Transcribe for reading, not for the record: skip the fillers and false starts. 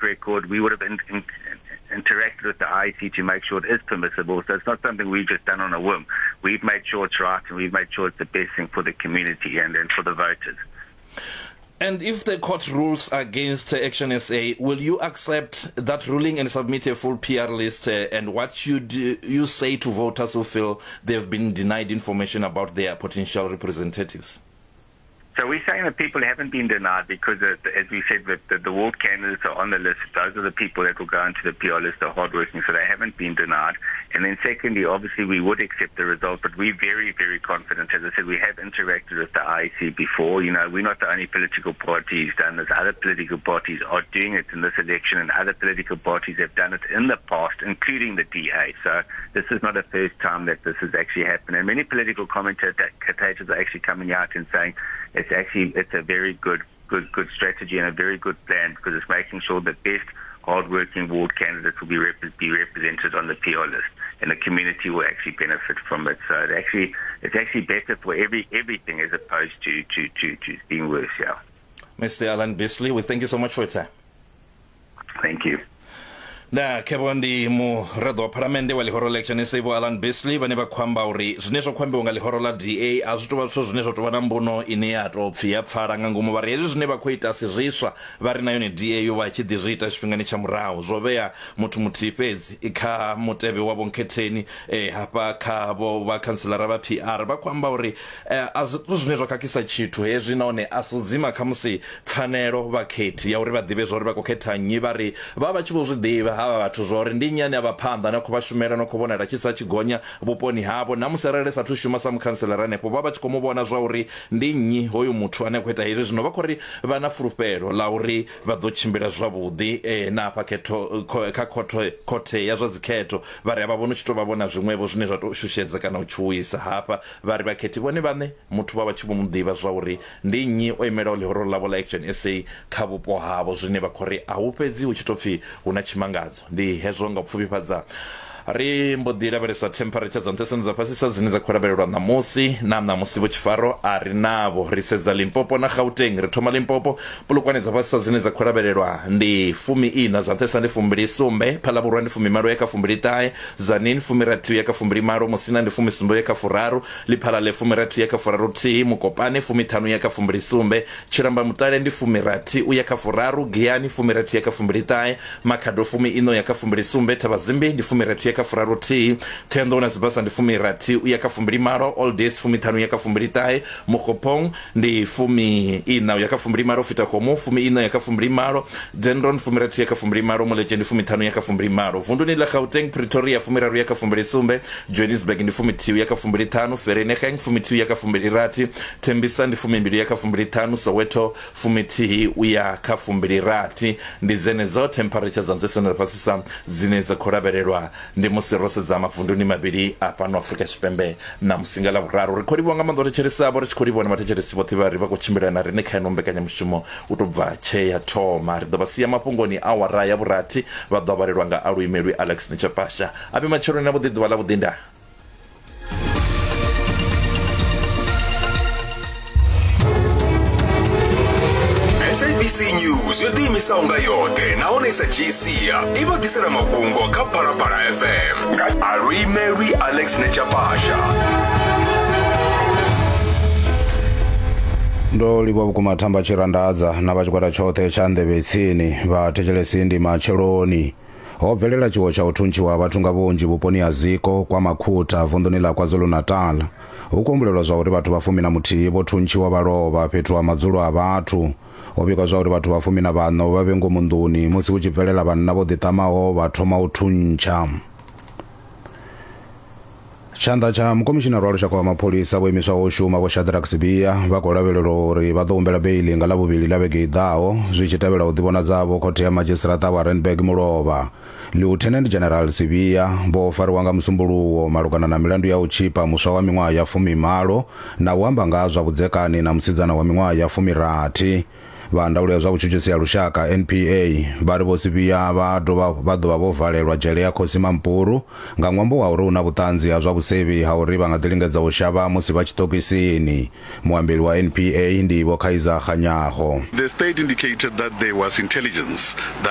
track record. We would have in, in, interacted with the IEC to make sure it is permissible. So it's not something we've just done on a whim. We've made sure it's right and we've made sure it's the best thing for the community and, and for the voters. And if the court rules against Action SA, will you accept that ruling and submit a full PR list? Uh, and what should you say to voters who feel they've been denied information about their potential representatives? So we're saying that people haven't been denied because, uh, as we said, the, the, the ward candidates are on the list. Those are the people that will go into the PR list, the hardworking, so they haven't been denied. And then secondly, obviously we would accept the result, but we're very, very confident. As I said, we have interacted with the IEC before. You know, we're not the only political party who's done this. Other political parties are doing it in this election, and other political parties have done it in the past, including the DA. So this is not the first time that this has actually happened. And many political commentators are actually coming out and saying it's actually it's a very good good good strategy and a very good plan because it's making sure the best hardworking ward candidates will be, rep- be represented on the PR list, and the community will actually benefit from it. So it actually it's actually better for every everything as opposed to to to, to being worse. Yeah. Mr. Alan Beasley, we thank you so much for your time. Thank you. Nda khevho ndi muraḓo wa phalamennde wa ḽihoro ḽa Action SA Vho Alan Beasley vhane vha khou amba uri zwine zwa khou ambiwa nga ḽihoro ḽa DA a zwi tou vha zwithu zwine zwa tou vha na mbuno ine ya tou pfi ya pfala nga ngomu. Vha ri hezwi zwine vha khou ita si zwiswa, vha ri na yone DA yo vha tshi ḓi zwi ita tshifhingani tsha murahu. Zwo vhea muthu muthihi fhedzi kha mutevhe wa vhonkhetheni hafha kha vho vhakhantselara vha PR. Vha khou amba uri A zwi zwine zwa khakhisa tshithu hezwi nahone a si u dzima khamusi pfanelo vhakhethi ya uri vha ḓivhe zwauri vha khou khetha nnyi. Vha ri vha vha tshi vho zwi ḓivha havha vhathu zwauri ndi nnyi ane a vha phanḓa ane a khou vha shumela no khou vhonala tshi tsa tshi gonya vhuponi havho. Na musi arali sathu shuma sa mukhantselara hanefho vha vha tshi khou mu vhona zwauri ndi nnyi hoyu muthu ane a khou ita hezwi. Zwino vha khou ri vha na fulufhelo ḽa uri vha ḓo tshimbila zwavhuḓi na hafha khetho kha khothe khothe ya zwa dzikhetho. Vha ri a vha vhoni u tshi tou vha vhona zwiṅwevho zwine zwa tou shushedza kana u tshuwisa hafha. Vha ri vhakhethi vhone vhaṋe muthu vha vha tshi vho mu ḓivha zwauri ndi nnyi o imelaho ḽihoro ḽavho ḽa Action SA kha vhupo havho, zwine vha khou ri a hu fhedzi hu tshi tou pfi hu na tshimangadzo. Ndi hezwo nga u pfufhifhadza ri mbo ḓi lavhelesa temperature dza nṱhesa na dza fhasisa dzine dza khou lavhelelwa ṋamusi na ṋamusi vho Tshifaro a ri navho. Ri sedza Limpopo na Gauteng. Ri thoma Limpopo, Polokwane dza fhasisa dzine dza khou lavhelelwa ndi fumi ina, dza nṱhesa ndi fumbili sumbe, Phalaborwa ndi fumimalo ya kha fumbili ṱahe, Tzaneen fumirathi uya kha fumbili malo, Musina ndi fumisumbe uya kha furaru, Lephalale fumirathi uya kha furaru thihi, Mokopane fumiṱhanu uya kha fumbili sumbe, Tshilamba Mutale ndi fumirathi uya kha furaru, Giyani fumirathi uya kha fumbili ṱahe, Makhado fumi iṋa uya kha fumbili sumbe, Thabazimbi ndi fumirathi uya kha furaru thihi, Thohoyandou na Sibasa ndi fumirathi uya kha fumbili malo, Old fumiṱhanu uya kha fumbili ṱahe, Mookgophong ndi fumi iṋa uya kha fumbili malo, Fetakgomo fumi iṋa uya kha fumbili malo, Dendron fumirathi uya kha fumbili malo, Moletje ndi fumiṱhanu uya kha fumbili malo. Vunduni ḽa Gauteng, Pretoria fumiraru uya kha fumbili sumbe, Johannesburg ndi fumithihi uya kha fumbili ṱhanu, Vereeniging fumithihi uya kha fumbili rathi, Tembisa ndi fumimbili uya kha fumbili ṱhanu, Soweto fumithihi uya kha fumbili rathi. Ndi dzenedzo temperature dza nṱhesa na dza fhasisa dzine dza khou lavhelelwa Ndi musi ro sedza mavunduni mavhili a fhano Afrika Tshipembe ṋamusi nga Ḽavhuraru. Ri khou livhuwa nga maanḓa u thetshelesa avho, ri tshi khou livhuwa na vhathetshelesi vhoṱhe vha ri vha khou tshimbila na riṋe kha ino mbekanyamushumo u tou bva tshee ya thoma. Ri ḓo vha sia mafhungoni awara ya vhurathi, vha ḓo vhalelwa nga aluimelwi Alex Nitshapasha. A vhe matsheloni avhuḓi, ḓuvha ḽavhuḓi, ndaa. SABC News yo ḓiimisaho nga yoṱhe nahone i sa dzhii sia i vha ḓisela mafhungo kha Phalaphala FM nga aluimelwi Alex Nechapasha. Ndo livhuwa vhukuma Thamba Tshirandadza na vha tshigwada tshoṱhe tsha Nḓevhe Tsini. Vhathetshelesi ndi matsheloni. Ho bvelela tshiwo tsha u thuntshiwa ha vhathu nga vhunzhi vhuponi ha Ziko, kwa Makhutha, vunḓuni ḽa KwaZulu-Natal. Hu khou humbulelwa zwauri vhathu vha fumi na muthihi vho thuntshiwa vha lovha fhethu ha madzulo a vhathu. Ho vhigwa zwauri vhathu vha fumi na vhaṋa vho vha vhe ngomu nḓuni musi hu tshi bvelela vhanna vho ḓiṱamaho vha thoma u thuntsha. Tshanḓa tsha mukomishinara wa lushaka wa mapholisa vho imiswaho u shuma Vho Shadrack Sibiya vha khou lavhelelwa uri vha ḓo humbela beiḽi nga Ḽavhuvhili ḽa vhege i ḓaho zwi tshi tevhela u ḓivhonadza havho khothe ya madzhisiṱiraṱa wa Randburg mulovha. Lieutenant General Sibiya vho fariwa nga Musumbuluwo malugana na milandu ya u tshipa muswa wa miṅwaha ya fumimalo na u amba nga ha zwa vhudzekani na musidzana wa miṅwaha ya fumirathi. Vha ndaulo ya zwa vhutshutshisi ya lushaka, NPA, vha ri Vho Sibiya vha dovha vha ḓo vha vho valelwa dzhele ya Kgosi Mampuru nga ṅwambo wa uri hu na vhuṱanzi ha zwa vhusevhi ha uri vha nga ḓi lingedza u shavha musi vha tshiṱokisini. Muambeli wa NPA ndi Vho Kaizer Kganyago. The state indicated that there was intelligence that.